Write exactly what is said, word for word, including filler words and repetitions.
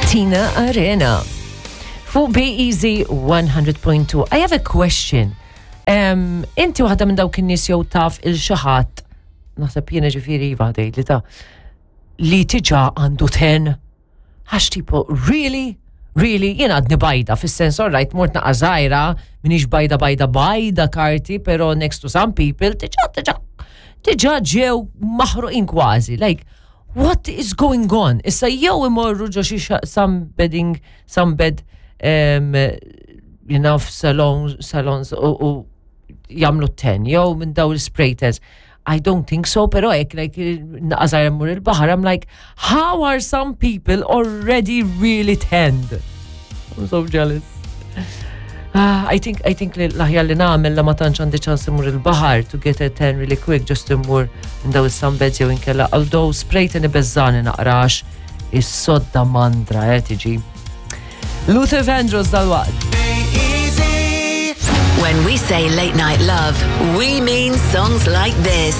Tina Arena. Fuq B-Easy one hundred point two. I have a question. Um, inti waħda minn dawk in-nies jew taf lil xi ħadd, naħseb jiena ġifieri iva li ta' li diġà għandu ten? Għax tipo, really? Really? Jiena għadni bajda, fis-sens, alright, mort naqa żgħira, m'iniex bajda bajda bajda karti, pero next to some people, diġà, diġà, diġà ġew maħruqin kważi. Like, what is going on? Issa jew imorru ġo xi sunbedding, sunbed, um, you know, salons, salons u, u jagħmlu ten, jew minn daw il-spray tans. I don't think so, pero hekk, like, naqa żgħira mmur il-baħar, I'm like, how are some people already really tanned? I'm so jealous. Ah, I think I think li l-aħjar li nagħmel la ma tantx għandi ċans immur il-baħar, to get a tan really quick, just immur minn daw is-sunbeds jew inkella, although spray tan ibeżżagħni naqra għax is-sodda mandra eh tiġi. Luther Vandross dalwaqt. When we say late night love, we mean songs like this.